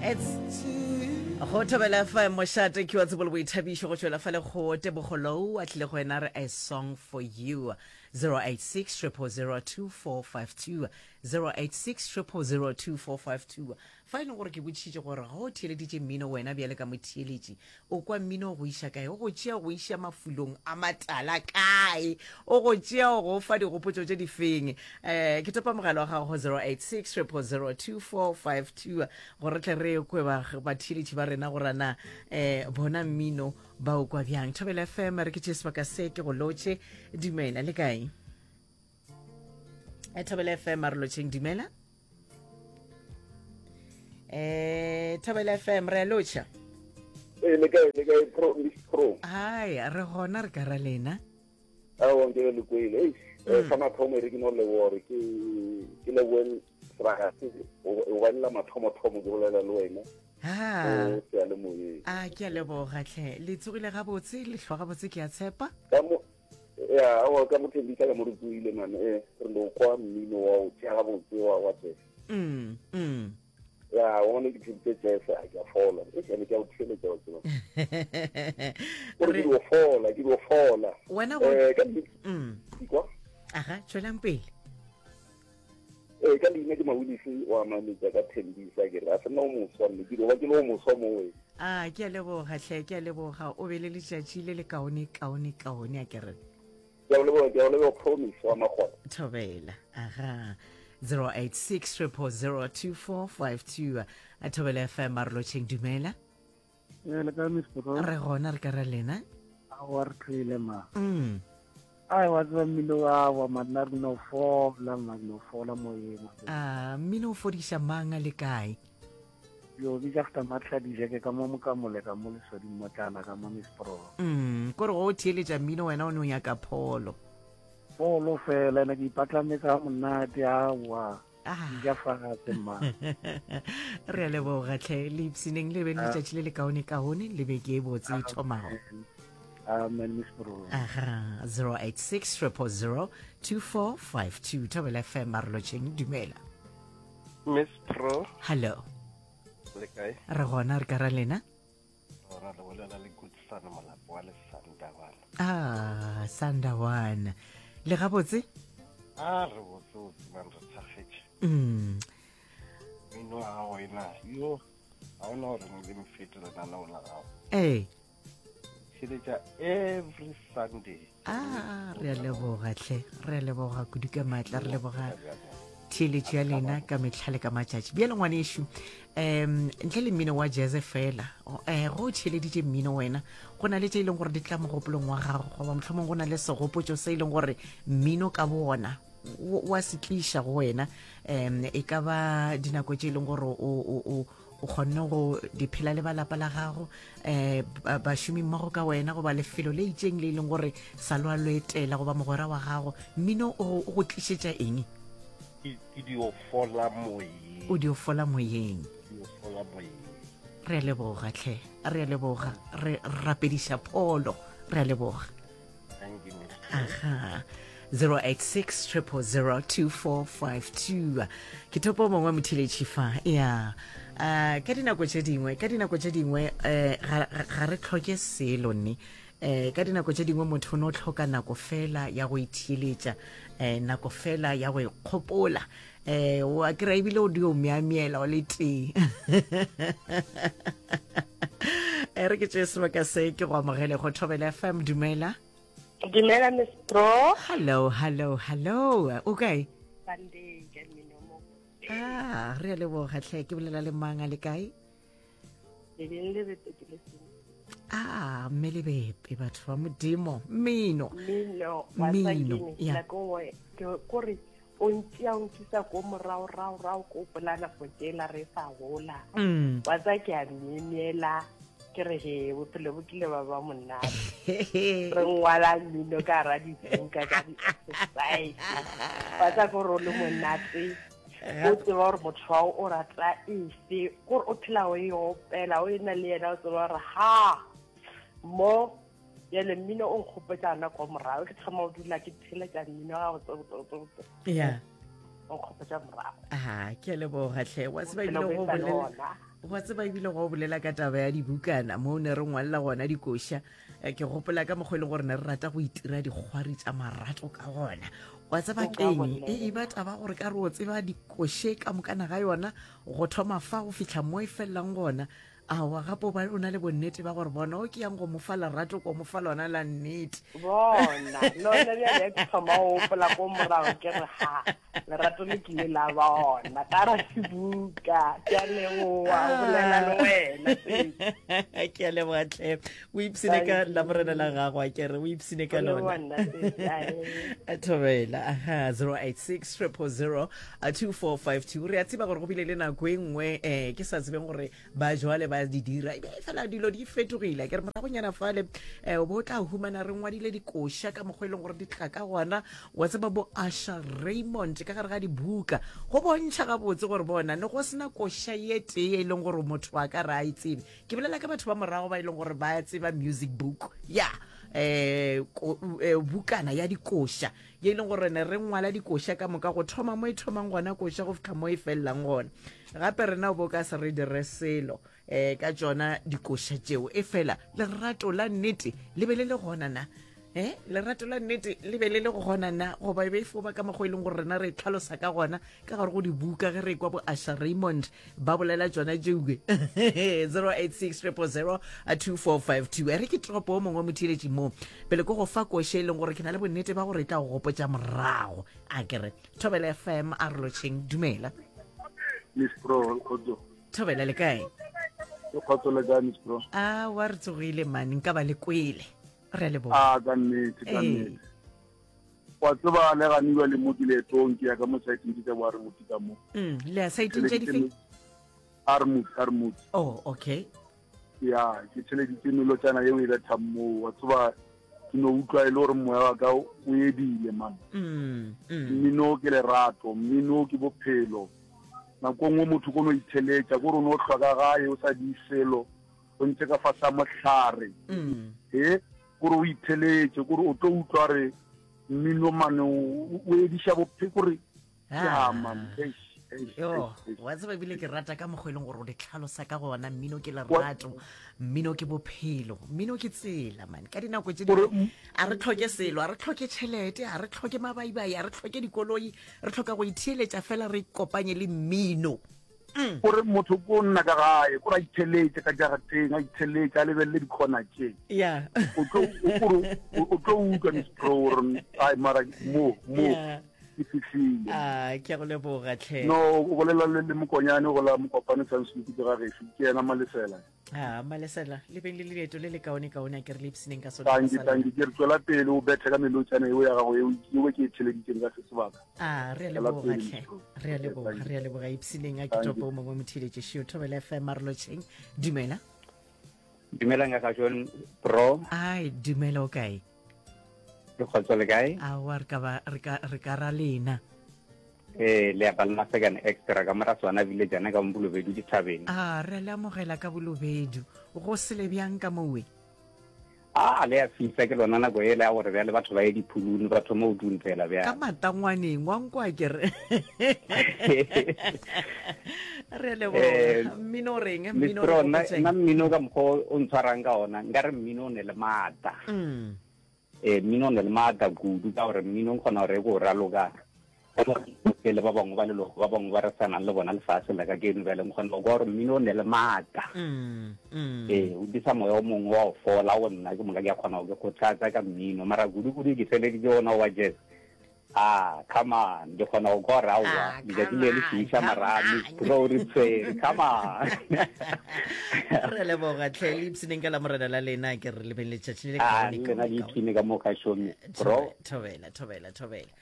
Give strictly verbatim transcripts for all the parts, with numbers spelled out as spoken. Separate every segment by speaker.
Speaker 1: It's go thobela F M, mošate ke wa tsebo le boithabišo, go tšwela fa le go Tebogolou a tlile go wena re "A Song for You". zero eight six zero zero two four five two, zero eight six zero zero two four five two. Fa e leng gore ke botšišitše gore ga o theeleditše mmino, wena bjale ka motheeletši o kwa mmino o go iša kae, o go tšea go iša mafulong a matala kae, o go tšea o go fa digopotšo tše di feng? um ke topa mogala wa gago go zero eight six zero zero two four five two gore tle re kwe batheeletši ba rena gore na um bona mmino ba o kwa bjang. Thobela F M, re ke tše sebaka se ke go lotšhe. Dumela, le kae? Eh, thobela F M, a re lotšheng. Dumela. eh thobela F M, re a lotšha.
Speaker 2: Ee, le kae le kae pro, Miss Pro?
Speaker 1: Hai, re gona, re ka ra lena.
Speaker 2: Aowa, nke le kwele. Eish, eh, sa mathomo e re ke no leboga gore ke ke leboe sebaka se gobane la mathomo-thomo ke bolela le wena
Speaker 1: ha
Speaker 2: o seyalemoyeng.
Speaker 1: A ke a leboga tlhe. Le tsogile gabotse, le hlwa gabotse, ke a tshepa.
Speaker 2: Ka mo ya, aowa, ka mo Thembisa ka mo re tsoile man, eh re no kwa mmino wa o tšea gabotse wa wa jazz.
Speaker 1: mm mm
Speaker 2: Ya one ke theditse jazz, a ke a fola e ene ke a o theeletša, wa tseba gore ke
Speaker 1: Re-
Speaker 2: dio fola, ke dio fola.
Speaker 1: Wena go
Speaker 2: eh ka nnete.
Speaker 1: Mm
Speaker 2: Kwa.
Speaker 1: Aga, tswelang pele.
Speaker 2: Ee, ka leina ke Mawilisi wa Mametša ka Thembisa. Ke re a se nna o moswa mme ke dio ba ke le o moswa mowe.
Speaker 1: A ke a leboga tlhe, ke a leboga. O be le letšatši le le kaone kaone kaone, a ke re.
Speaker 2: Ke a o leboga, ke a o leboga, Promise wa Magona.
Speaker 1: Thobela. Aga, zero eight six zero zero two four five two. A Thobela F M, a re lotšheng. Dumela.
Speaker 3: Ee, le kae, Miss Pro?
Speaker 1: Re gona, re ka ra lena.
Speaker 3: Aowa, re tlhoile ma.
Speaker 1: Mm
Speaker 3: ai, wa tseba mmino wa wa manna re no fola ma, no fola moyeng.
Speaker 1: A mmino o fodiša mang, a le kae?
Speaker 3: Yo bitša feta matlha dijeke ka mo mokamole ka mo lesoding motlana ka mo, Miss Pro.
Speaker 1: mm kore go o theeletša mmino wena o ne o nyaka pholo.
Speaker 3: Folo fela ene ke ipatlametse ga monate, aowa.
Speaker 1: Ah.
Speaker 3: Dija fatshe mma.
Speaker 1: Re a leboga tlhe, le ipsineng, le be le letšatši le le kaone kaone le beke e botse e thomago.
Speaker 3: Amen, Miss Pro.
Speaker 1: Aha, zero eight six zero zero two four five two. Thobela F M, a re lotšheng. Dumela.
Speaker 4: Miss Pro.
Speaker 1: Hello.
Speaker 4: Le kae?
Speaker 1: Re gona, re ka ra lena.
Speaker 4: Ora le bolela le Goodson Molapo wa Lesandawana.
Speaker 1: Ah, Sandawana, le gabotse?
Speaker 4: A re botse botse man, re thakgetše.
Speaker 1: mm.
Speaker 4: Mmino wa gago ena yo ga ona gore le mfete lenaneo la gago.
Speaker 1: Ee.
Speaker 4: Theletša every Sunday.
Speaker 1: A re a leboga tlhe, re a leboga kudu ka maatla, re leboga theeletšo ya lena ka metlha le ka matšatši. Bjale ngwanešu, um ntle le mmino wa jazz fela, um go o theeleditše mmino wena, go na le tše e leng gore di tla mogopolong wa gago, goba mohlomong go na le segopotšo se e leng gore mmino ka bona wa se tliša go wena, um e ka ba dinako tše e leng gore o o o kgonne go di phela le balapa la gago, um bašomi mmogo ka wena, goba lefelo le itseng le e leng gore sa lwa lo etela, goba mogwera wa gago, mmino o go tlišetša eng?
Speaker 4: Ke dio fola moyeng.
Speaker 1: O dio fola moyeng.
Speaker 4: Dio fola moyeng.
Speaker 1: Re a leboga tlhe, re a leboga, re rapediša pholo, re a leboga.
Speaker 4: Thank you, Miss.
Speaker 1: Aha, zero eight six zero zero two four five two. Ke thopo mongwe motheletši fa ya. uh, ka dinako tše dingwe ka dinako tše dingwe um ga re tlhoke selo nne. um ka dinako tše dingwe motho o ne o tlhoka nako fela ya go itheeletša, um nako fela ya go ikgopola, um wa kry ebile o dio meamiela o le tee. E re ke tšee sebaka se ke go amogele go Thobela F M. Dumela.
Speaker 5: Dumela, Miss Pro.
Speaker 1: Hello, hello, hello, o kae?
Speaker 5: Sunday ke mmino mo.
Speaker 1: Ah, re a leboga tlhe. Ke bolela le mang, a le kae?
Speaker 5: Lebeng le bete ke le seng.
Speaker 1: Ah, mme lebepe, batho ba Modimo, mmino.
Speaker 5: Mmino.
Speaker 1: Mmino, ya.
Speaker 5: Nako nngwe ke kore o ntšea o nkisa ko morago rago rago, ko gopola nako tsela re sa gola.
Speaker 1: Mm.
Speaker 5: Wa tsa ke a myemyela, ke re he, bophelo bo kile ba ba monate. Re ngwala mmino ka gara dibuka tsa di-exercise, wa tsa kore o le monate, o tseba gore motho wa o rata efe, kore o phela o e opela o e na le yena, o tseba gore ha mo bjale mmino o nkgopotsa gona ko morago. Ke thoma o dula ke theletša mmino ga botsebotsebotsebotse,
Speaker 1: ya
Speaker 5: o nkgopotsa morago.
Speaker 1: Ah, ke a leboga tlhe, wa tseba ebile
Speaker 5: Bophelo
Speaker 1: go
Speaker 5: bo e sa le
Speaker 1: bolela
Speaker 5: ona.
Speaker 1: Wa tseba ebile go bolela ka taba ya dibukana mo ne re ngwalela gona dikoša, eh, ke gopola ka mokgwa e leng gore ne re rata go itira dikgwari tša marato ka gona. Wa tseba
Speaker 5: O ka
Speaker 1: keng e
Speaker 5: bolela.
Speaker 1: e ba taba gore ka re o tseba dikoše ka mokana ga yona go thoma fa go fihla mo e felelang gona. Aowa, gape o ba o na le bonnete ba gore bona o ke yang go mo fa lerato ko mo fa lona la nnete.
Speaker 5: Bona lona bjale ke thoma go gopola ko morago ke re ha lerato le kile la bona ka ra dibuka. Ke a leboga go bolela le wena sesi.
Speaker 1: Ke a leboga tlhe, o ipsene ka
Speaker 5: Thank
Speaker 1: lamorena la
Speaker 5: you.
Speaker 1: gago, a kere o ipsene
Speaker 5: Go
Speaker 1: ka
Speaker 5: leboga
Speaker 1: lona.
Speaker 5: nna sesi ae.
Speaker 1: Thobela aha, zero eight six triple zero two four five two. Re a tseba gore go bile le nako e nngwe um ke sa tsebeng gore ba jwale ba di dira e be fela dilo di fetogile, ke re moragonyana fale um o bo o tla humana re ngwadile dikoša ka mokgwa e leng gore di tla ka gona. Wa tseba bo Asha Raymond ka gare ga dibuka go bontšha gabotse gore bona ne go sena koša ye tee e leng gore motho a ka re a e tsebe. Ke bolela ka batho ba morago ba e leng gore ba tseba music book ya eh ko- eh, bukana ya dikoša ye e leng gore ne re ngwala dikoša ka moka go thoma mo e thomang gona koša go fihla mo e felelang gona. Gape rena o bo ka se re dire selo um ka tšona dikoša tšeo, e fela lerato la nnete le be le le gona na? Eh, lerato la nnete le be le le gona na, goba e be e fo ba ka mokgwa e leng gore rena re tlhalosa ka gona ka gare go dibuka ge re kwa bo Asha Raymond ba bolela tšona tšeue? zero eight six triple zero two four five two. E re ke toropo o mongwe motheeletši mo pele ko go fa koše e leng gore ke na le bonnete ba gore e tla go gopotša morago. A ke re Thobela F M, a re lotšheng. Dumela.
Speaker 6: Miss Pro, kgotso.
Speaker 1: Thobela, le kae?
Speaker 6: Ke kgotso, le kae, Miss Pro?
Speaker 1: A wa re tsogile mane, nka ba le kwele, re a leboga.
Speaker 6: A ka nnete, ka
Speaker 1: Ee.
Speaker 6: nnete. Wa tseba le ganiwa le mo ke leetong ke ya ka mo saeteng tse tsa bo a re motho ka mo.
Speaker 1: Mm, le ya saeteng tše difeng?
Speaker 6: Armut, Armut.
Speaker 1: Oh, okay.
Speaker 6: Ya, ke theleditse melotšana yeo e bethang moo. Wa tseba ke no utlwa e le gore moya wa ka o edile man.
Speaker 1: Mm, mm.
Speaker 6: Mmino ke lerato, mmino ke bophelo. Nako nngwe motho ko no itheletša, kore o no hlwa ka gae o sa di selo, o ntse ka fase ga mohlare.
Speaker 1: Mm.
Speaker 6: E kore o itheletše, kore o tlo utlwa re mmino mane o o ediša bophelo, kore ya
Speaker 1: Ah.
Speaker 6: man, eish, eish,
Speaker 1: Yo,
Speaker 6: eish, eish.
Speaker 1: wa tseba ebile ke rata ka mokgwa e leng gore o di tlhalosa ka gona. Mmino ke lerato, mmino ke bophelo, mmino ke tsela man. Ka dinako tše
Speaker 6: Gore
Speaker 1: dingwe a re tlhoke selo, a re tlhoke tšhelete, a re tlhoke mabaibai, a re tlhoke dikoloi, re tlhoka go itheeletša fela, re kopanye le mmino.
Speaker 6: Kore motho ko nna ka gae, kore a itheletše ka jarateng, a itheletše, a lebelele dikhona tše.
Speaker 1: Ya.
Speaker 6: O tlo o kore o o tlo utlwa Miss Pro gore ai mara mo mo
Speaker 1: Ya.
Speaker 6: ke fihlile.
Speaker 1: A ke a go leboga tlhe.
Speaker 6: No, o bolela le le mokonyane go la mokopane Samsung ke ga gešo, ke yena Malesela.
Speaker 1: A Malesela, le beng le leeto le le kaone kaone, a ke re le ipshineng ka sona
Speaker 6: Tanki
Speaker 1: sa
Speaker 6: tanki,
Speaker 1: lona.
Speaker 6: ke re tswela pele o bethe ka melotšana eo ya gago eo eo ke e theleditseng ka se sebaka.
Speaker 1: A re a
Speaker 6: Tswela
Speaker 1: leboga
Speaker 6: pele,
Speaker 1: tlhe.
Speaker 6: Miss Pro.
Speaker 1: Re a
Speaker 6: Okay,
Speaker 1: leboga,
Speaker 6: thank you.
Speaker 1: re a leboga. Ipshineng a ke
Speaker 6: Thank
Speaker 1: topo
Speaker 6: you.
Speaker 1: o mongwe motheeletše šio. Thobela F M, a re lotšheng. Dumela.
Speaker 7: Dumelang ka John Pro,
Speaker 1: Ai, dumela, o kae?
Speaker 7: ke kgotso le kae?
Speaker 1: Aowa, re ka ba re ka re ka ra lena.
Speaker 7: Eh le apa le Masekane extra ka mora swana village ana ka Mbolobedu dithabeng.
Speaker 1: A re a le amogela ka Bolobedu. Go sele bjang ka mowe?
Speaker 7: A le ya fisa ke lona nako e le ya gore bjale batho ba ye diphulune ba thoma go duntela
Speaker 1: Ka
Speaker 7: bjale.
Speaker 1: matangwaneng wa nkwa ke re. Re a leboga.
Speaker 7: Eh
Speaker 1: Mmino o reng?
Speaker 7: Miss
Speaker 1: Mmino o re
Speaker 7: Pro, nna
Speaker 1: gopotšeng?
Speaker 7: nna mmino ka mokgwa o ntshwarang ka ona, nkare mmino o ne le maatla.
Speaker 1: Mm.
Speaker 7: Eh mmino o ne le maatla kudu ka gore mmino o kgona gore e ko raloka. Le ba bangwe ba leloko ba bangwe ba re sanang le bona lefase la ka keno bjale nkgona go kwa gore mmino o ne le maatla.
Speaker 1: Mm. Mm.
Speaker 7: Ee, o disa moya o mongwe wa go fola go nna ke moka ke a kgona go ke kgothatsa ka mmino mara kudu-kudu ke feleditse ona wa jazz. Ah, come on, ke kgona go kwa gore aowa
Speaker 1: Ah,
Speaker 7: letšatši
Speaker 1: come
Speaker 7: le le
Speaker 1: on,
Speaker 7: fiša
Speaker 1: come
Speaker 7: mara Miss
Speaker 1: on.
Speaker 7: Pro re tshwere, come on.
Speaker 1: Re a leboga tlhe, le ipshineng ka la morena la lena, ke re le beng letšatši le le
Speaker 7: Ah,
Speaker 1: kaone
Speaker 7: le lena
Speaker 1: kaone
Speaker 7: le
Speaker 1: kaone.
Speaker 7: ipshine ka mo kgašong Miss Pro.
Speaker 1: Thobela, thobela, thobela.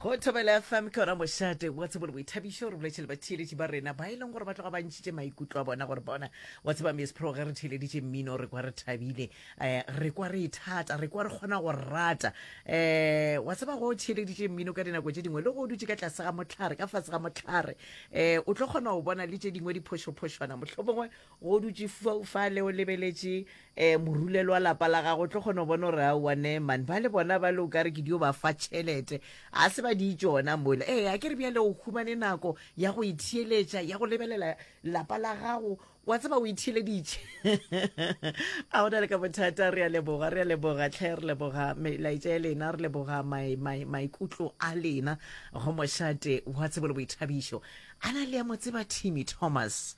Speaker 1: Go Thobela F M ke yona mošate wa tsebo le boithabišo. Re boletše le batheeletši ba rena ba e leng gore ba tloga ba ntšhitše maikutlo a bona gore bona wa tseba Miss Pro ge re theeleditše mmino re kwa re thabile, eh re kwa re ithata, re kwa re kgona go rata. Eh wa tseba go theeleditše mmino ka dinako tše dingwe le go dutše ka tlase ga mohlare, ka fase ga mohlare, eh o tlo kgona go bona le tše dingwe diphošophošwana, mohlomongwe go dutše fale o lebeletše eh morulelo wa lapa la gago, o tlo kgona go bona gore aowa ne man ba le bona ba le o ka re ke dio ba fa tšhelete, a se ba ba di tšona mola. Ee, a ke re bjale o humane nako ya go itheeletša, ya go lebelela lapa la gago, wa tseba o itheeleditše. A gona le ka bothata, re a leboga, re a leboga tlhe, re leboga melaetša ya lena, re leboga maikutlo a lena go mošate wa tsebo le boithabišo. A na le ya mo tseba Timmy Thomas?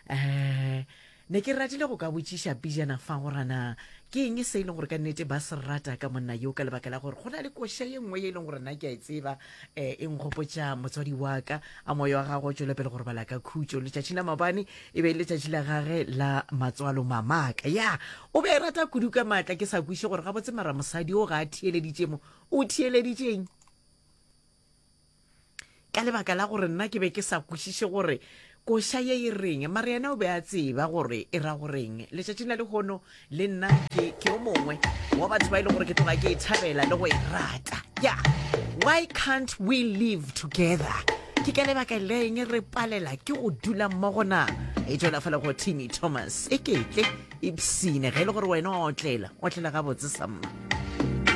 Speaker 1: Um ne ke ratile go ka botšiša pijana fa gore na ke eng se e leng gore ka nnete ba se rata ka monna yo, ka lebaka la gore go na le koša ye nngwe ye e leng gore nna ke a e tseba, um e nkgopotša motswadi wa ka. A moya wa gagwe o tšwele pele go robala ka khutšo. Letšatši la maabane e be e le letšatši la gage la matswalo, mamaka ya o be a e rata kudu ka maatla. Ke sa kweše gore gabotse mara mosadi o ga a theeleditše mo, o theeleditšeng, ka lebaka la gore nna ke be ke sa kwešiše gore koša ye e reng, mara yena o be a tseba gore e ra goreng. Letšatšing la lehono le nna ke ke o mongwe wa batho ba e leng gore ke tloga ke e thabela le go e rata. Ya, why can't we live together? Ke ka lebaka leng re palela ke go dula mmogo na? E tšwela fela go Timmy Thomas, e ketle ipsine ge e le gore wena wa otlela, otlela gabotse samma.